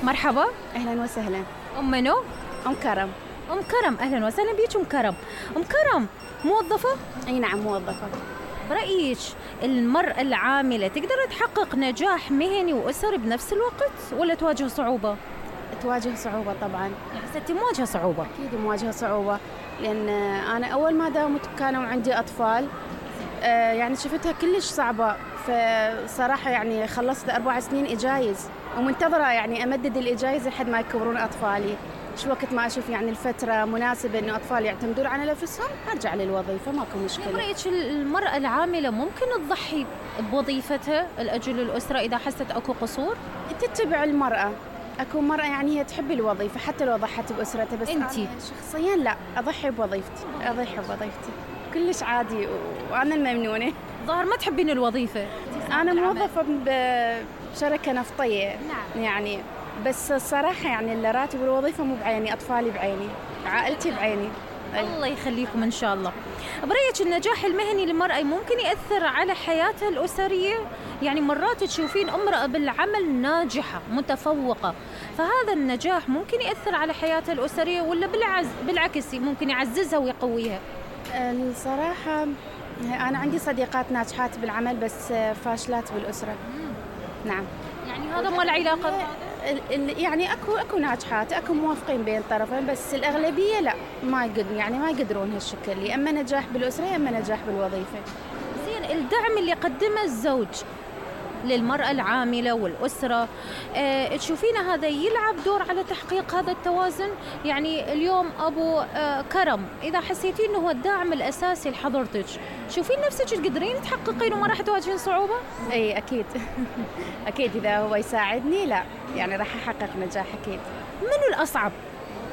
مرحبا. أهلا وسهلا. أم منو؟ أم كرم. أم كرم، أهلا وسهلا بيك أم كرم. أم كرم موظفة؟ أي نعم موظفة. برأيك المرأة العاملة تقدر تحقق نجاح مهني وأسري بنفس الوقت ولا تواجه صعوبة؟ تواجه صعوبة طبعا. حسيتي مواجهة صعوبة؟ أكيد مواجهة صعوبة، لأن أنا أول ما داومت كانوا عندي أطفال، يعني شفتها كلش صعبة. فصراحة يعني خلصت 4 سنين إجايز ومنتظرة يعني أمدد الإجايز لحد ما يكبرون أطفالي. شو وقت ما أشوف يعني الفترة مناسبة إنه أطفالي يعتمدون على نفسهم أرجع للوظيفة، ماكو مشكلة. برأيك المرأة العاملة ممكن تضحي بوظيفتها لأجل الأسرة إذا حست أكو قصور؟ تتبع المرأة. أكو مرأة يعني هي تحب الوظيفة حتى لو ضحت بأسرتها، بس أنتي أنا شخصيا لا، أضحي بوظيفتي. كلش عادي وأنا الممنونة. ظاهر ما تحبين الوظيفة. أنا موظفة بشركة نفطية. نعم. يعني بس الصراحة يعني الراتب والوظيفة مو بعيني، أطفالي بعيني، عائلتي بعيني. الله يخليكم إن شاء الله. برأيك النجاح المهني للمرأة ممكن يأثر على حياتها الأسرية؟ يعني مرات تشوفين امرأة بالعمل ناجحة متفوقة، فهذا النجاح ممكن يأثر على حياتها الأسرية ولا بالعكس ممكن يعززها ويقويها؟ الصراحة أنا عندي صديقات ناجحات بالعمل بس فاشلات بالأسرة. نعم. يعني هذا ما له علاقة. يعني اكو ناجحات، اكو موافقين بين الطرفين، بس الاغلبيه لا، ما يقدرون هالشكل، يا اما نجاح بالاسره يا اما نجاح بالوظيفه. زين، الدعم اللي قدمه الزوج للمرأة العاملة والأسرة، تشوفين هذا يلعب دور على تحقيق هذا التوازن؟ يعني اليوم أبو كرم إذا حسيتين أنه هو الداعم الأساسي لحضرتك، شوفين نفسك تقدرين تحققين وما راح تواجهين صعوبة؟ أي أكيد. أكيد إذا هو يساعدني لا يعني راح أحقق نجاح أكيد. منو الأصعب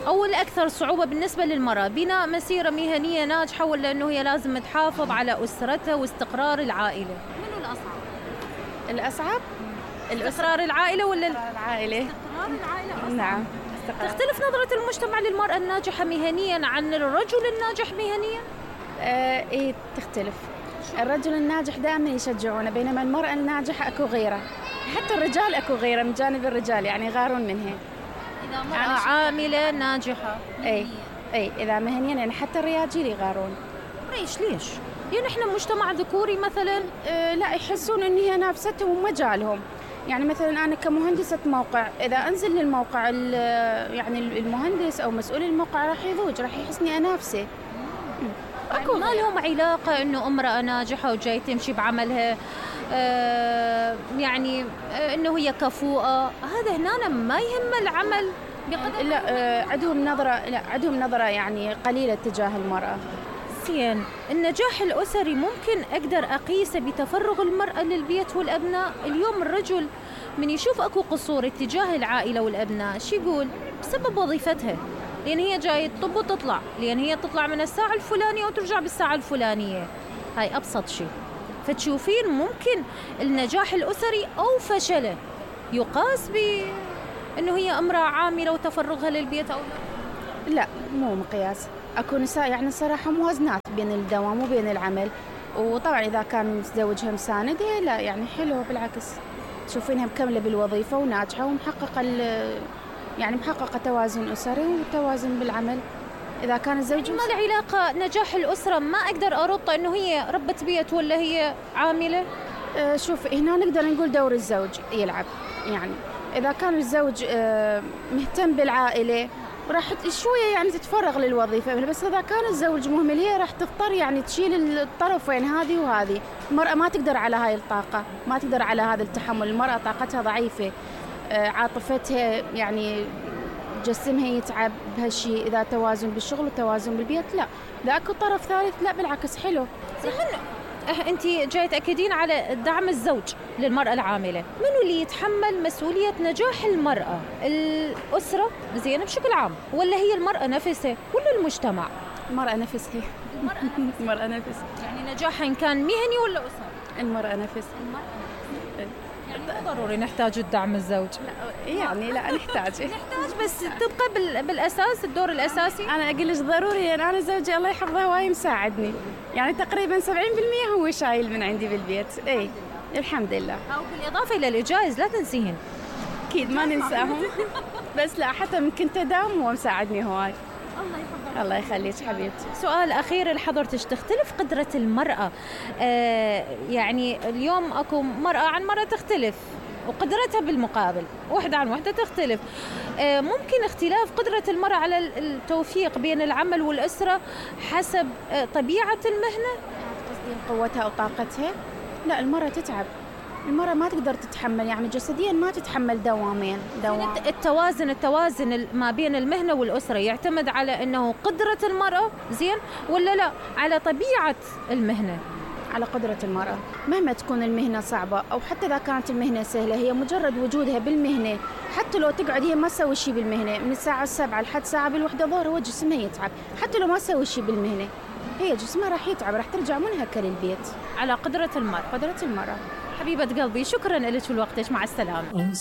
أو الأكثر صعوبة بالنسبة للمرأة؟ بناء مسيرة مهنية ناجحة ولا أنه هي لازم تحافظ على أسرتها واستقرار العائلة؟ منو الأصعب؟ الأصعب استقرار العائلة ولا العائلة؟ استقرار العائلة أصعب. نعم. تختلف نظرة المجتمع للمرأة الناجحة مهنيا عن الرجل الناجح مهنيا؟ إيه تختلف. الرجل الناجح دائما يشجعونه، بينما المرأة الناجحة أكو غيرة. حتى الرجال أكو غيرة من جانب الرجال، يعني يغارون منها. إذا مرأة عاملة ناجحة أي إذا مهنيا يعني حتى الرجال يغارون. ليش؟ يعني إحنا مجتمع ذكوري مثلا. لا، يحسون إن هي نافستهم ومجالهم. يعني مثلا أنا كمهندسة موقع، إذا أنزل للموقع يعني المهندس أو مسؤول الموقع راح يضوج، راح يحسني أنافسه. أكو ما لهم علاقة إنه امرأة ناجحة وجاي تمشي بعملها، يعني إنه هي كفوءة، هذا هنا ما يهم العمل بقدر. لا، عندهم نظرة يعني قليلة تجاه المرأة. زين، النجاح الأسري ممكن أقدر أقيسه بتفرغ المرأة للبيت والأبناء. اليوم الرجل من يشوف أكو قصور اتجاه العائلة والأبناء شو يقول؟ بسبب وظيفتها، لأن هي جاي تطب وتطلع، لأن هي تطلع من الساعة الفلانية وترجع بالساعة الفلانية. هاي أبسط شيء. فتشوفين ممكن النجاح الأسري أو فشله يقاس بأنه هي امرأة عاملة وتفرغها للبيت أو لا؟ لا، مو مقياس. أكو نساء يعني الصراحة موازنات بين الدوام وبين العمل، وطبعا إذا كان متزوجها مساندها لا يعني حلو، بالعكس تشوفينها مكملة بالوظيفة وناجحة ومحققة يعني محققة توازن أسري وتوازن بالعمل. إذا كان الزوج ما له علاقة نجاح الأسرة، ما أقدر أربط إنه هي ربة بيت ولا هي عاملة. شوف، هنا نقدر نقول دور الزوج يلعب. يعني إذا كان الزوج مهتم بالعائلة راح شوية يعني تتفرغ للوظيفة، بس إذا كان الزوج مهمل هي راح تضطر يعني تشيل الطرفين، هذه وهذه. المرأة ما تقدر على هاي الطاقة، ما تقدر على هذا التحمل. المرأة طاقتها ضعيفة، عاطفتها يعني جسمها يتعب بهالشيء. إذا توازن بالشغل وتوازن بالبيت لا، إذا أكو طرف ثالث لا بالعكس حلو. أنت جاي تأكدين على دعم الزوج للمرأة العاملة، منو اللي يتحمل مسؤولية نجاح المرأة؟ الأسرة زين بشكل عام، ولا هي المرأة نفسها ولا المجتمع؟ المرأة نفسها. المرأة نفسها. يعني نجاحها إن كان مهني ولا أسري؟ المرأة نفسها. يعني مو ضروري نحتاج الدعم الزوج. يعني لا نحتاج بس تبقى بالأساس الدور الأساسي. أنا أقول لك ضروري، يعني أنا زوجي الله يحفظه هواي مساعدني، يعني تقريبا 70% هو شايل من عندي بالبيت. الحمد لله. أو بالإضافة إلى الإجازة لا تنسيهن. أكيد ما ننساهم. بس لا حتى من كنت أداوم هو مساعدني هواي. الله يحفظك. الله يخليك حبيبتي. سؤال أخير لحضرتك، تختلف قدرة المرأة يعني اليوم أكو مرأة عن مرأة تختلف وقدرتها بالمقابل واحدة عن واحدة تختلف، ممكن اختلاف قدرة المرأة على التوفيق بين العمل والأسرة حسب طبيعة المهنة؟ قصدي قوتها أو طاقتها؟ لا المرأة تتعب، المرأة ما تقدر تتحمل يعني جسديا ما تتحمل دوامين. التوازن ما بين المهنة والأسرة يعتمد على أنه قدرة المرأة زين ولا لا على طبيعة المهنة؟ على قدرة المرأة. مهما تكون المهنة صعبة أو حتى إذا كانت المهنة سهلة، هي مجرد وجودها بالمهنة، حتى لو تقعد هي ما تسوي شيء بالمهنة من الساعة 7 لحد ساعة بالوحدة ظهر هو جسمها يتعب، حتى لو ما تسوي شيء بالمهنة هي جسمها راح يتعب، راح ترجع منهكة للبيت. على قدرة المرأة. قدرة المرأة. حبيبة قلبي شكرا لك ولوقتك، مع السلامة.